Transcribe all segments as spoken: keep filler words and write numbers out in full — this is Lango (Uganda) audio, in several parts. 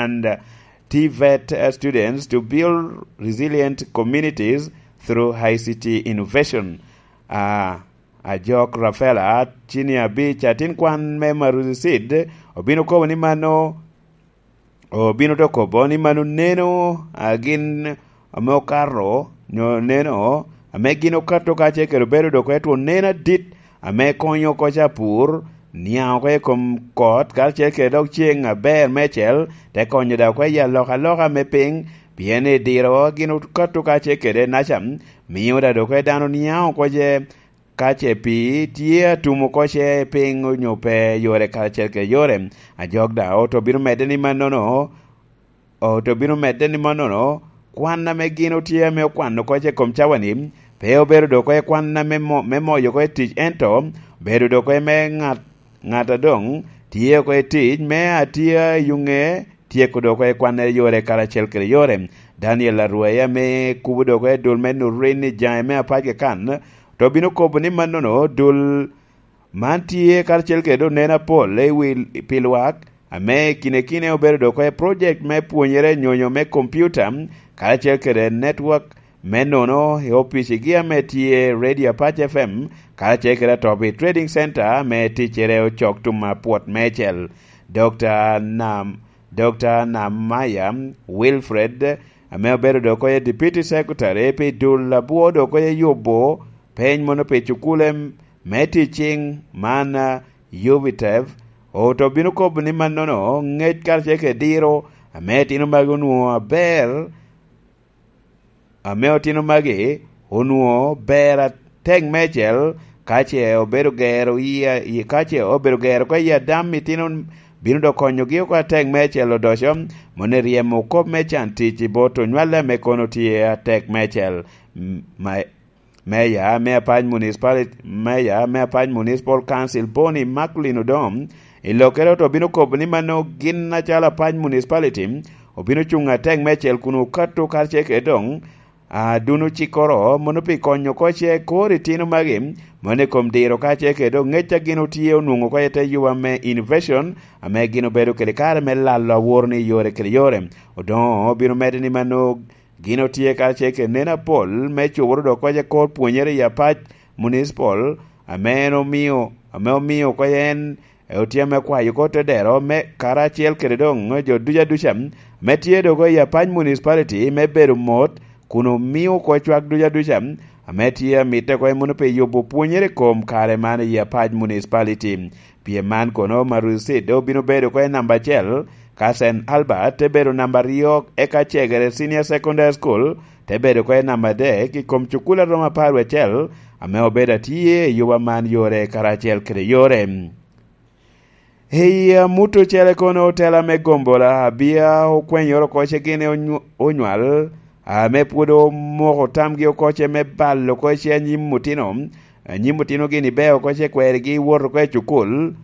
and uh, T vet uh, students to build resilient communities through I C T innovation. Uh, Ajok Rafaela, cini abic, atin kwan me Maruzi Seed, obino kobo ni mano, obino to kobo ni mano neno a gin ame okato, nyo neno ame gin okato kacel kede obedo dok etwo neno adit ame konyo oko ca pur, niaŋ oko i kom kot, karacel kede dok ceng aber mecel, te konyo dok oko i alokaloka me piny, pien i diro gin okato kacel kede naca, mio da dok dano niaŋ oko ce ka ce pii tye atum oko ce piny onyo pe yore karacel kede yore. Ajok daŋ oto bino medde ni mannono, oto bino medde ni mannono, kwan ame gin otye ame okwano oko ce kom cawa-ni, pe obedo dok oko i kwan ame mo-, me moyo oko i tic, ento obedo dok oko i me ŋat, ŋat a doŋ tye oko i tic me atye i yuŋe tyeko dok oko i kwanne yore karacel kede yore. Daniel Arwai ame kubo dok oko i dul me Nurin i jaŋe me apac keken, to bino kobo ni mannono dul man tye karacel kede oneno apol i wi pi lwak, ame i kine kine obedo dok oko i project me pwonyere nyonyo me kompiuta, karacel kede network me nono i opicigi ame tye Radio Apac F M, karacel kede Atobi Trading Center ame ticcere ocok tum apwot mecel. Dokta Nam Dokta Namaya Wilfred, ame obedo dok oye Deputy Secretary pi dul abwo dok oye yubo peny mono pi cukule me ticing man, a, Yubitev, oto bino kobo ni mannono ŋec karacel kede diro ame itino magi onwoŋo aber, ame otino magi onwoŋo ber atek meicel, ka ce obedo gero i, i, ka ce obedo gero oko i Adam itino bino dok konyogi oko atek meicel odoco, moni ryemo kop me can tic i bot onywale ame kono tye atek meicel. M-, ma-, Meya me Apac Municipality, Meya me Apac Municipal Council Boni Macklin Odom, i lokkere oto bino kobo ni mano gin acalo Apac Municipality obino cuŋ atek meicel kun okato karacel kede doŋ, a, duno cikkoro mono pi konyo oko ce kor itino magi, mono i kom diro kacel kede doŋ ŋec a gin otye onwoŋo oko i te yuba me innovation, ame gin obedo kede kare me lalo awor ni yore kede yore. Odoŋo obino medde ni mano gin otye kacel kede neno apol me cuboro dok oko ce kor pwonyere i Apac Municipal, ame en omio, ame omio oko en otye ame kwayo oko te dero me karacel kede doŋ jo duca duca me tye dok i Apac Municipality me bedo mot, kun omio oko cwak duca duca ame tye amitte oko i muno pi yubo pwonyere i kom kare man i Apac Municipality. Pien man kono, Marusit obino bedo oko i namba acel, ka Saint Albert te bedo namba aryo, eka Cegere Senior Secondary School te bedo oko i namba adek i kom cukul a romo apar wie acel, ame obedo atye i yuba man yore karacel kede yore. I amut ocele kono, otela me gombola abia okwenyoro oko ce gin onyu-, onywal, ame pwod omoko tamgi oko ce me balo oko ce anyim otino, anyim otino gini beo oko ce kwerigi wot oko i cukul.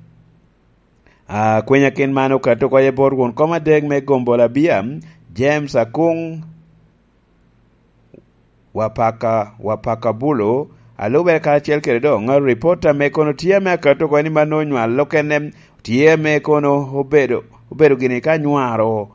A, kwenya kin man okato oko i bot won kom adek me gombola abia, James Akung, Wapaka, Wapaka Bulu, a lube karacel kede doŋ ripot ame kono tye ame akato oko ni mano onywal okene tye ame kono obedo, obedo gini ka nywaro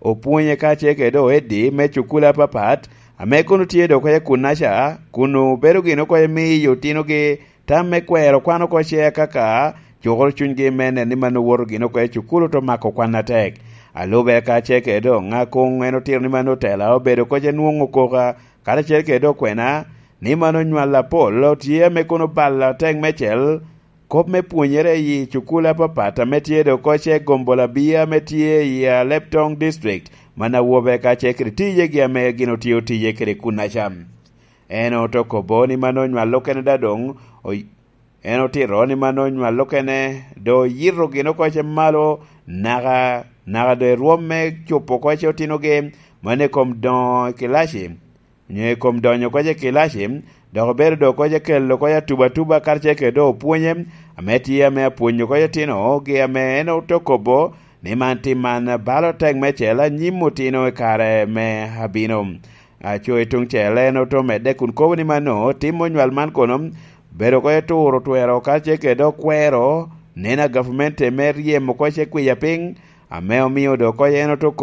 opwonye kacel kede doŋ Eddie me cukule apapat, ame kono tye dok oko i kunnaca, kun obedo gini oko i miyo otinogi tam me kwero kwan oko ce kaka cukoro cunygi me neno ni mano woto gini oko i cukul oto mako kwan atek. A lube kacel kede doŋ Akung en otito ni mano otela obedo oko ce nwoŋo koka karacel kede doŋ okwena, ni mano onywal apol otye ame kono balo atek mecel, kop me pwonyere i cukul apapat ame tye dok oko ce gombola abia ame tye i Aleptong District, man awobe kacel kede tijegi ame gin otio tije kede kunnaca. En oto kobo ni mano onywal okene da doŋ, oy-, en otito ni mano onywal okene, doŋ oyito gin oko ce malo, naka, naka doŋ i rwom me cupo oko ce otinogi, mano i kom doŋo i kilaci, onyo i kom donyo oko ce i kilaci, dok obedo doŋ oko ce kelo oko ce atubatuba karacel kede doŋ opwonye, ame tye ame apwonyo oko ce otinogi ame en oto kobo ni man tim man balo tek mecel anyim otino i kare me abino. Aco i tuŋ cel en oto medde kun kobo ni mano tim onywal man kono bedo oko ce turo twero karacel kede doŋ kwero neno a gavumenti me ryemo oko ce kwiya piny, ame omio doŋ oko ce en oto kobo